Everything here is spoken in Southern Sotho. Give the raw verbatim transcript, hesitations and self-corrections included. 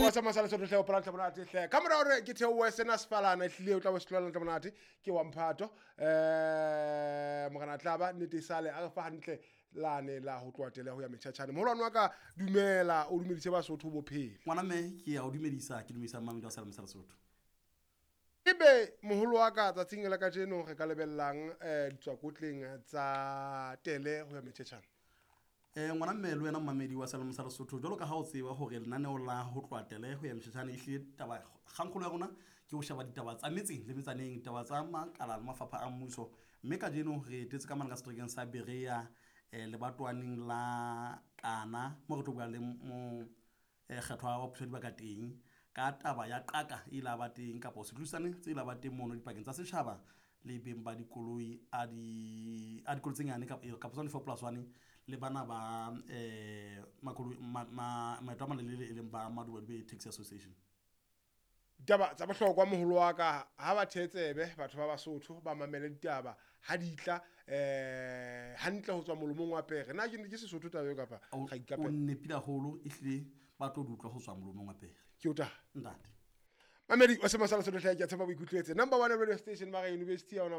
Wa sa masala sotho hle o pala monate hle. Ka mora hore ke theohe sena sefalana ehlile o tla bo se tlohela ntle monate ke wa mphato. Eh morena tlaba nnete sale a re fa hantle lane la ho tloha tele ho ya metjhatjhane. Moholwane wa ka dumela o dumedise Basotho bophelo. Ngwana mme ke a o dumedisa, ke dumedisa mmamedi wa Salome sa Lesotho. Ebe moholo wa ka tsatsing la kajeno re ka lebellang eh ditswakotleng tsa tele ho ya metjhatjhane. Eh ngwana mme le wena mmamedi wa Salome sa Lesotho, jwalo ka ha o tseba hore lenaneo la ho tloha tele ho ya metjhatjhane ehlile taba kgangkgolo ya rona ke ho sheba ditaba tsa metseng le metsaneng, ditaba tsa makala le mafapha a mmuso. Mme kajeno re etetse ka mane ka seterekeng sa Berea, eh lebatwaneng la Kana mo re tlo bua le mo eh kgethwa wa puso ya dibaka teng ka taba ya qaka e la ba teng kapa setlosane tse la ba teng mono dipakeng tsa setjhaba le beng ba dikoloi a di a dikoloi tse nyane kapa kapa tsona di-four plus one le bana ba eh makoloi ma maeto a malelele e leng ba Madubaduba Taxi Association. Ditaba tsa bohlokwa moholo wa ka ha ba thetsebe batho ba Basotho ba mamele ditaba ha di tla eh hantle ho tswa molomong wa pere. Na ke ke Sesotho taba eo kapa ga O nepile haholo ehlile ba tlo di utlwa ho tswa molomong wa pere. Ke o ta. Ntate. Mamedi wa Semasala Sotho hle ke a tshepa boikutlwetse. Number one radio station mara university ya ona.